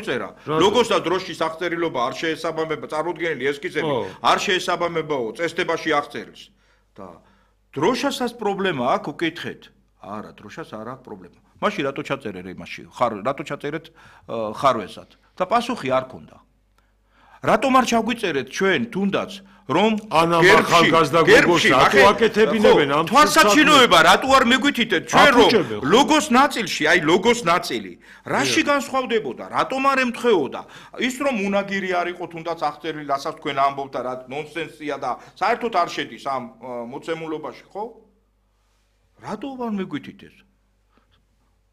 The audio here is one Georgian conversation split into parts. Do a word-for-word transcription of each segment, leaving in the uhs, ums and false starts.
წერა. Როგორც და დროშის აღწერილობა არ შეესაბამება წარმოდგენილი ესკიზები, არ შეესაბამებაო წესდებაში აღწერილს. და დროშასაც პრობლემა აქვს, უკითხეთ. არა, დროშას არ აქვს პრობლემა. მაშინ რატო ჩაწერე იმაში? ხარ რატო ჩაწერეთ ხარვესად? და პასუხი არ ქონდა. რატომ არ ჩაგვიწერეთ ჩვენ თუნდაც რომ ახალგაზრდა გოგოს რატო აკეთებინებენ ამ თვალსაჩინოება რატო არ მეგვითითეთ ჩვენ რომ ლოგოს ნაწილში აი ლოგოს ნაწილი რაში განსხვავდებოდა რატომ არ ემთხვეოდა ის რომ უნაგირი არ იყო თუნდაც აღწერილი რასაც თქვენ ამბობთ და რა ნონსენსია და საერთოდ არ შედის ამ მოცემულობაში ხო რატო არ მეგვითითეთ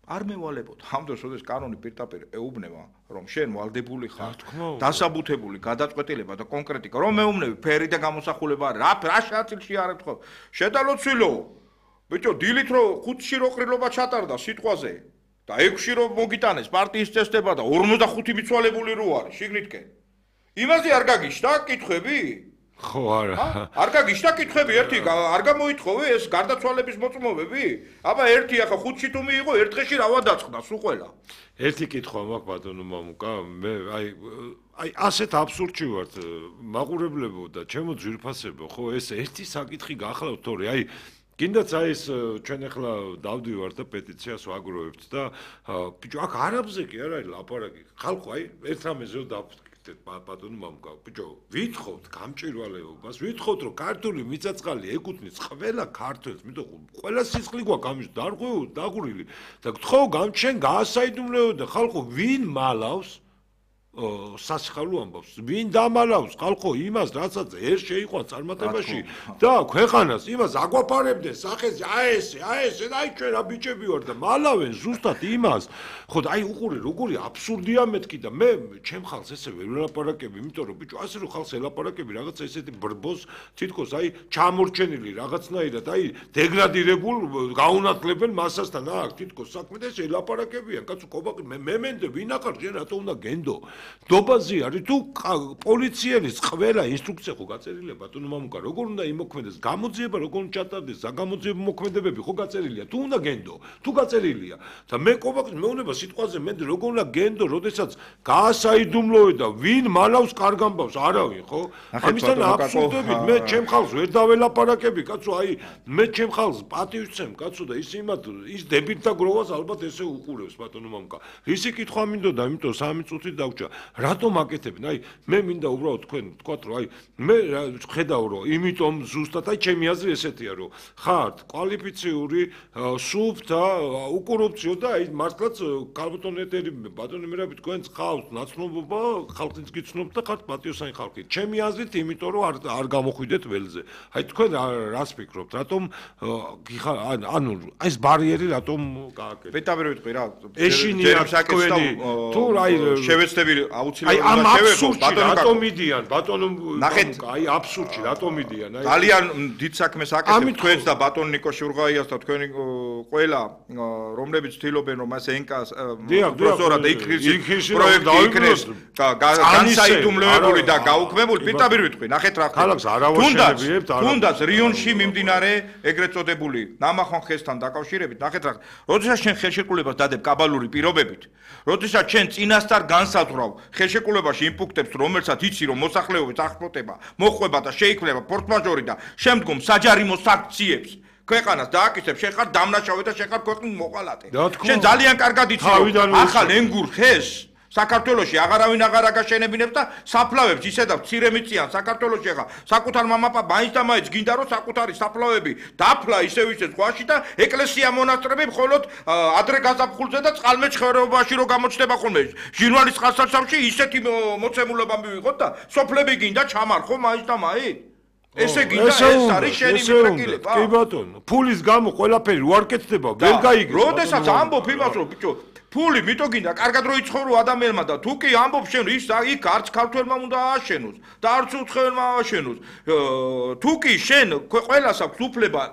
არ მევალებოდ ამ დროს როდეს კანონი პირდაპირ ეუბნება რომ შენ ვალდებული ხარ დასაბუთებული გადაწყვეტილება და კონკრეტიკა რომ მეუბნები ფერი და გამოსახულება რა რა ნაწილში არ ეთქო შედალოცილო ბიჭო დილით რო ხუთში რო ყრილობა ჩატარდა სიტყვაზე და ექვსში რო მოგიტანეს პარტიის წესდება და ორმოცდახუთი მიცვალებული რო არის შიგნითკენ იმაზე არ გაგიშთა კითხვები ხო არა არ გაგიშთა კითხვები ერთი არ გამოითხოვე ეს გარდაცვალების მოწმობები აბა ერთი ახლა ხუთში თუ მიიღო ერთ დღეში რა ვადაწყდა სულ ყველა ერთი კითხვა მაქვს ბატონო მამუკა მე აი აი ასეთ აბსურდში ვარ მაყურებლებო და ჩემო ძვირფასებო ხო ეს ერთი საკითხი გახლავთ თორე აი კიდაც აი ეს ჩვენ ახლა დავდივართ და პეტიციას ვაგროვებთ და ბიჭო აქ არაბზე კი არ არის ლაპარაკი ხალხო აი ერთ რამეზე დავთ ბატონო მამუკა ბიჭო ვითხოვთ გამჭვირვალეობას ვითხოვთ რომ ქართული მიწაწყალი ეკუთვნის ყველა ქართველს მითხრა ყველა სისხლი გვაქვს ამის დარღვეულ დაღურილი და გთხოვ გამჩენ გაასაიდუმლოო და ხალხო ვინ მალავს სასიხალო ამბავს ვინ დამალავს ხალხო იმას რასაც ერთ შეიყვა წარმატებაში და ქვეყანას იმას აგვაფარებდნენ სახეზე აი ესე აი ესე აი ჩვენ რა ბიჭები ვარ და მალავენ ზუსტად იმას ხო და აი უყურე როგორი აბსურდია მეთქი და მე ჩემ ხალხს ესე ვერ ვლაპარაკები იმიტომ რომ ბიჭო ასე რომ ხალხს ელაპარაკები რაღაცა ესეთი ბრბოს თითქოს აი ჩამორჩენილი რაღაცნაირად აი დეგრადირებულ გაუნათლებელ მასასთან აქ თითქოს საქმე და ეს ელაპარაკებიან კაცო კობაყი მე მემენდე ვინ ახარ შენ რატო უნდა გენდო დობაზე არის თუ პოლიციელის ყველა ინსტრუქცია ხო გაწერილია ბატონო მამუკა როგორ უნდა იმოქმედეს გამოძიება როგორ უნდა ჩატარდეს საგამოძიებო მოქმედებები ხო გაწერილია თუ უნდა გენდო თუ გაწერილია და მე კობაყის მეუნება სიტყვაზე მე როგორ უნდა გენდო როდესაც გაასაიდუმლოე და ვინ მალავს კარგ ამბავს არავინ ხო ამისთან აბსურდებით მე ჩემ ხალხს ვერ დაველაპარაკები კაცო აი მე ჩემ ხალხს პატივს ვცემ კაცო და ის იმათ ის დებილთა გროვას ალბათ ესე უყურებს ბატონო მამუკა ისი კითხვა მინდოდა იმიტომ სამი წუთი დაგჭა რატომ აკეთებენ? აი მე მინდა უბრალოდ თქვენ თქვათ რომ აი მე ხედავ რომ იმიტომ ზუსტად აი ჩემი აზრი ესეთია რომ ხართ კვალიფიციური სუფ და უკორუფციო და აი მართლაც ქალბატონ ეთერი ბატონი მერაბი თქვენს ხალხს ნაცნობობა ხალხიც გიცნობთ და ხართ პატიოსანი ხალხი. ჩემი აზრით იმიტომ რომ არ არ გამოხვიდეთ ველზე. აი თქვენ რას ფიქრობთ? რატომ ანუ ეს ბარიერი რატომ გააკეთეთ? პეტაბერ ვიტყვი რა. ეშინია თქვენი თუ აი შევეცდები აი ამ აბსურდში რატომ მიდიან ბატონო აი აბსურდში რატომ მიდიან აი ძალიან დიდ საქმეს აკეთებთ თქვენს და ბატონ ნიკო შურღაიას და თქვენი ყველა რომლებიც ცდილობენ რომ მას ენკას პროზორა და იქრის პროექტი იქნეს განსაიდუმლოებული და გაუქმებული პირდაპირ ვიტყვი ნახეთ რა ხდება თუნდაც თუნდაც რიონში მიმდინარე ეგრეთ წოდებული ნამახვან ხესთან დაკავშირებით ნახეთ რა როდესაც შენ ხელშეკრულებას დადებ კაბალური პირობებით როდესაც შენ წინასწარ განსაზღვრავ ხელშეკრულებაში იმპუნქტებს რომელსაც იცი რომ მოსახლეობის აღშფოთება მოხვება და შეიქმნება ფორსმაჟორი და შემდგომ საჯარიმო სანქციებს ქვეყანას დააკისებს შენ ხარ დამნაშავე და შენ ხარ ქვეყნის მოყალატე შენ ძალიან კარგად იცი რომ ახალ ენგურ ხეს საქართველოში აღარავინ აღარ აგაშენებინებს და საფლავებს ისედაც მცირე მიწიან საქართველოში ახლა საკუთარ მამაპა მაინც და მაინც გინდა რომ საკუთარი საფლავები დაფლა ისევ ისე ზღვაში და ეკლესია მონასტრები მხოლოდ ადრე გაზაფხულზე და წყალმეჩხერეობაში რო გამოჩნდება ხოლმე ჟინვალის წყალსაცავში ისეთი მოცემულობა მივიღოთ და სოფლები გინდა ჩამარხო მაინც და მაინც ესე გინდა ეს არის შენი მიფრაკილება კი ბატონო ფულის გამო ყველაფერი უარ კეთდება ვერ გაიგებს როდესაც ამბობ იმას რომ ბიჭო ფული მიტო გინდა კარგად რო იცხოვრო ადამიანმა და თუ კი ამბობ შენ ის იქ არც ქართველმა უნდა ააშენოს და არც უცხოელმა ააშენოს თუ კი შენ ყველას აქვს უფლება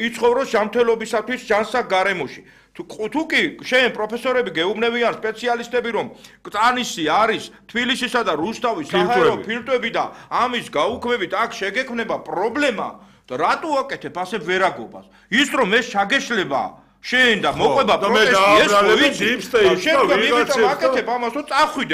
იცხოვროს ჯანმრთელობისათვის ჯანსაღ გარემოში თუ კი შენ პროფესორები გეუბნებიან სპეციალისტები რომ კრანისი არის თბილისისა და რუსთავის საჰაერო ფილტრები და ამის გაუქმებით აქ შეგექმნება პრობლემა და რატო აკეთებ ასე ვერაგობას ის რომ ეს შაგეშლება შენ და მოყვება პროტესტი ეს ვიცი შენ და ვიღაცამ აკეთებ ამას რომ წახვიდე